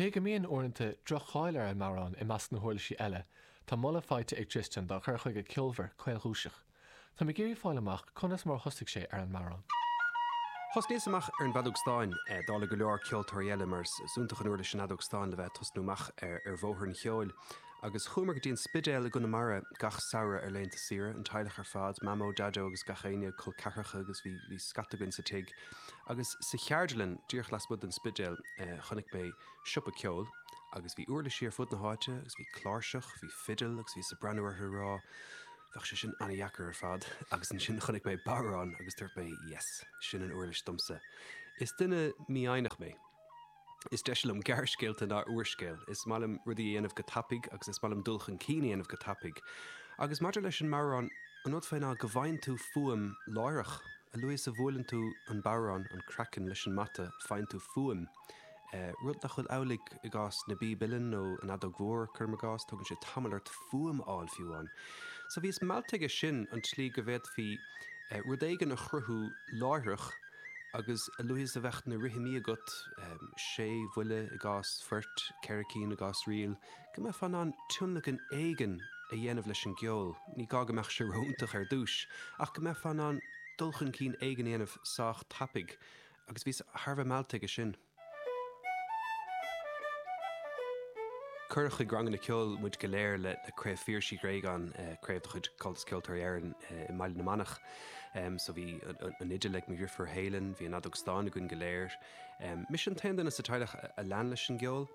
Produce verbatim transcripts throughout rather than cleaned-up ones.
Cé go mbíonn uaireanta droch-cháil ar an mbodhrán i measc na huirlisí eile, tá moladh faighte ag Tristan dá chur chuige ceolmhar caolchúiseach. Tá mé ag iarraidh fáil amach conas mar thosaigh sé ar an mbodhrán. Thosnaíos amach ar an bhfeadóg stáin dála go leor ceoltóirí eile mar is iontach an uirlis an fheadóg stáin le bheith ag tosnú amach ar ar bhóthar an cheoil. Agus chuamar go dtí an Spidéal i gConamara gach samhradh ar laethanta saoire, an teaghlach ar fad, Mamó, Daideo agus gach éinne, col ceathracha agus bhí bhí scata againn sa tigh. Agus sa cheardlann díreach lasmuigh den Spidéal chonaic mé siopa ceoil agus bhí uirlisí ar fud na háite agus bhí cláirseach, bhí fidil agus bhíos ag breathnú orthu ag rá bheadh sé sin an-deacair ar fad agus ansin chonaic mé bodhrán agus dúirt mé yes, sin an uirlis domsa. Is duine mífhoighneach mé. Is deise liom gearrscéalta ná úrscéal. Is maith liom rudaí a dhéanamh go tapaidh agus is maith liom dul chun cinn a dhéanamh go tapaidh. Agus maidir leis an mbodhrán, an rud fé ná go bhfaigheann tú fuaim láithreach. A luaithe is a bhuaileann tú an bodhrán, an craiceann, leis an mata, faigheann tú fuaim. Rud nach bhfuil amhlaidh i gcás na bpíob uilleann nó an fheadóg mhór, cuirim i gcás, tógann sé tamall ort fuaim a fháil fiú amháin. So bhíos meallta aige sin, an tslí go bhféadfaí rud éigin a chruthú láithreach agus a luaithe is a bheadh na rithimí agat, sé bhuille i gcás phoirt, ceithre cinn i gcás ríl, go mbeifeá in ann tionlacan éigin a dhéanamh leis an gceol. Ní gá go mbeadh sé ró-iontach ar dtús, ach go mbeifeá in ann dul chun cinn éigin a dhéanamh sách tapaidh. Agus bhíos thar a bheith meallta aige sin. Cuireadh chuig ranganna ceoil muid go léir le Craobh Phiarsaigh Uí Ghréagáin, craobh de chuid Comhaltas Ceoltóirí Éireann i mBaile na Manach. So bhí an fhidil ag mo dheirfiúr Helen, bhí an fheadóg stáin againn go léir. Mise an t-aon duine sa teaghlach a lean leis an gceol,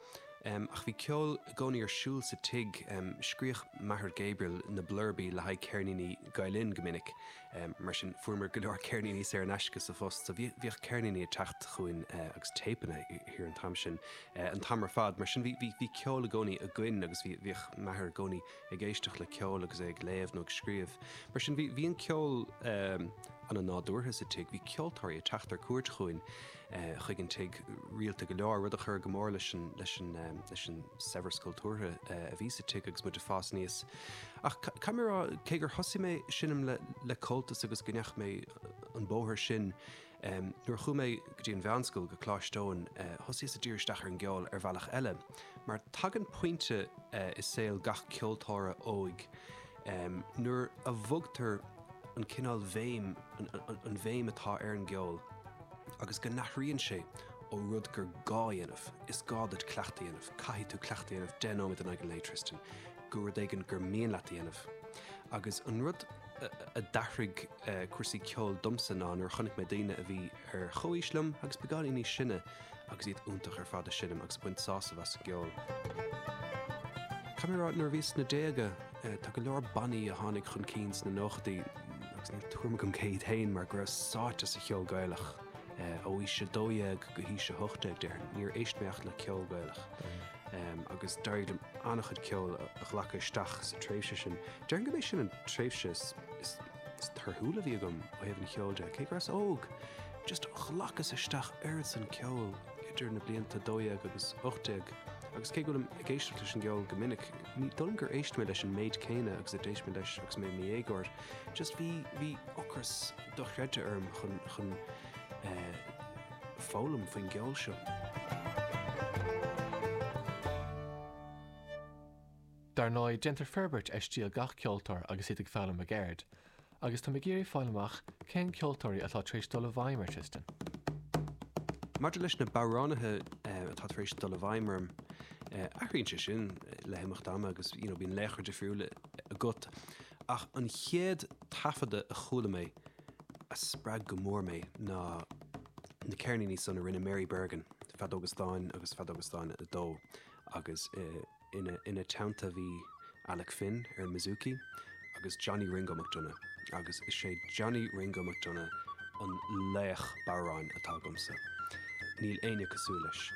ach bhí ceol i gcónaí ar siúl sa tigh. Scríobhadh m'athair Gabriel na blurbaí le haghaidh ceirníní Gael Linn go minic. Mar sin, fuaireamar go leor ceirníní saor in aisce sa phost, so bhíodh ceirníní ag teacht chugainn agus téipeanna thiar an t-am sin, an t-am ar fad. Mar sin, bhí bhí ceol i gcónaí againn agus bhí bhíodh m'athair i gcónaí ag éisteacht le ceol agus é ag léamh nó ag scríobh. Mar sin, bhí bhí an ceol an-nádúrtha sa tigh. Bhí ceoltóirí ag teacht ar cuairt chugainn chuig an tigh rialta go leor, rud a chuir go mór leis an leis an leis an saibhreas cultúrtha a bhí sa tigh agus muid ag fás aníos. Ach caithfidh mé a rá, cé gur thosaigh mé ag seinm le le Comhaltas agus go ndeachaigh mé an bóthar sin, nuair a chuaigh mé go dtí an mheánscoil, go Coláiste Eoin, thosaíos ag díriú isteach ar an gceol ar bhealach eile. Mar tagann pointe i saol gach ceoltóra óig nuair a bhogtar an cineál bhéim, an bhéim atá ar an gceol agus go n-athraíonn sé ó rud gur gá a dhéanamh, is gá duit cleachtadh a dhéanamh, caithfidh tú cleachtadh a dhéanamh deich nóiméad in aghaidh an lae, Tristan, go rud éigin gur mian leat a dhéanamh. Agus an rud a d'athraigh cúrsaí ceoil domsa ná nuair a chonaic mé daoine a bhí ar chomhaois liom agus beagáinín níos sine agus iad iontach ar fad ag seinm agus ag baint sásamh as an gceol. Caithfidh mé a rá, nuair a bhíos sna déaga, tá go leor bannaí a tháinig chun cinn sna nóchaidí agus níl tuairim agam cé hiad féin mar go rabhas sáite sa cheol Gaelach ó aois a dó dhéag go haois a hocht déag, déarfainn. Níor éist mé ach le ceol Gaelach. Agus d'éirigh liom an-chuid ceoil a ghlacadh isteach sa tréimhse sin. Déarfainn gurb é sin an tréimhse is torthúla a bhí agam ó thaobh an cheoil de, cé go rabhas óg. Just ghlacas isteach oiread san ceoil idir na blianta dó dhéag agus ocht déag agus cé go bhfuilim ag éisteacht leis an gceol go minic, ní dóigh liom gur éist mé leis an méid céanna agus a d'éist mé leis agus mé i mo dhéagóir. Just bhí, bhí ocras dochreidte orm chun, chun eh, foghlaim faoin gceol seo. Dar ndóigh, déantar forbairt ar stíl gach ceoltóir agus iad ag foghlaim a gceird. Agus tá mé ag iarraidh fáil amach cén ceoltóirí atá tar éis dul i bhfeidhm ar Tristan. Maidir leis na bodhránaithe atá tar éis dul i bhfeidhm orm, athraíonn sé sin le himeacht ama agus you know bíonn laochra difriúla agat. Ach an chéad taifeadadh a chuala mé a spreag go mór mé ná na ceirníní san a rinne Mary Bergin, Feadóga Stáin agus Feadóga Stáin a dó agus Ina ina teannta bhí Alec Finn ar an mbouzouki agus Johnny Ringo McDonagh agus is é Johnny Ringo McDonagh an laoch bodhráin atá agamsa. Níl éinne cosúil leis.